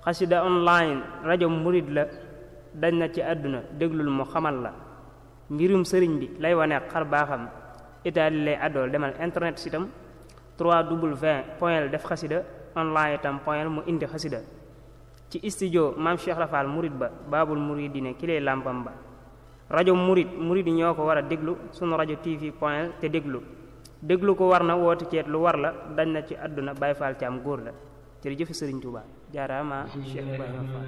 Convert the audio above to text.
xasida online rajo murid la dañ na ci àdduna déglul mu xamal la mbirum sëriñ bi lay wane xar baaxam itaali lay àddool demal internet sitam 3w def xasida online itam mu indi xasida ci studio maam Cheikh Rafal murid ba baabul muridine ki lay làmpam ba rajo murid yi ñoo ko war a déglu sunu rajo tv te déglu ko war na woote ceet lu war la dañ na ci àdduna Baay Faal ci am góor la jërëjëf Sëriñ Tuubaa jaaraama Cheikh Ibrahima Fall